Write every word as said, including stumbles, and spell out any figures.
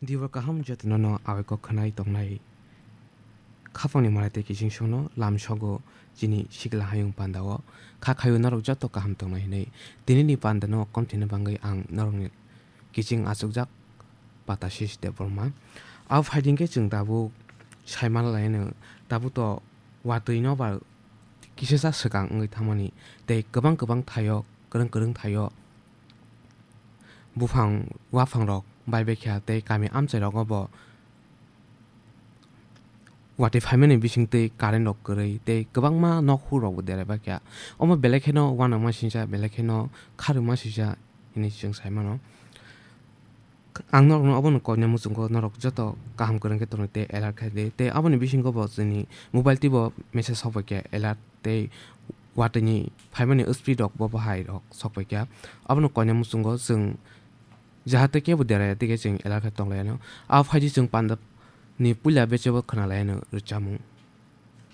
Dibo kaham jotono no awai kok khwnai tongnai. Khapangni malai tei kiching songno lam sogo chini sikla hayung pandao. Kha khayo norok joto kaham tongnai hinwi. Tinini pandano komthina bangwi ang norokni kiching achukjak Patasis Debbarma. Abo phaiding khe chwng tabuk saimana laino, tabuk to watwi no ba kisasa swkang wngwi thangmani tei kwbang kwbang thaio, kwrwng kwrwng thaio buphang waphang rok bai bai kha tei kami amchai rogo bo watwi phaimani bisingtwi current rok kwrwi tei kwbangma nok hur rok bo derai bai kha. Omo belai kheno uanama singcha, belai kheno kharwma singcha hinwi chwng saimano. Ang norokno obono koina muchungo norok joto kaham kwrwng khe tonwi tei alert khai di. Tei aboni bisingo bo chini mobile twibo message sok bai kha alert tei watwini phaimani speed rok bo bahai rok sok bai kha. Abono koina muchungo chwng jahate kebo deraya tei khe chwng alert khe tong lai anw. Abo phaidi chwng pandap ni puila bechebo khwna lai anw rwchapmung.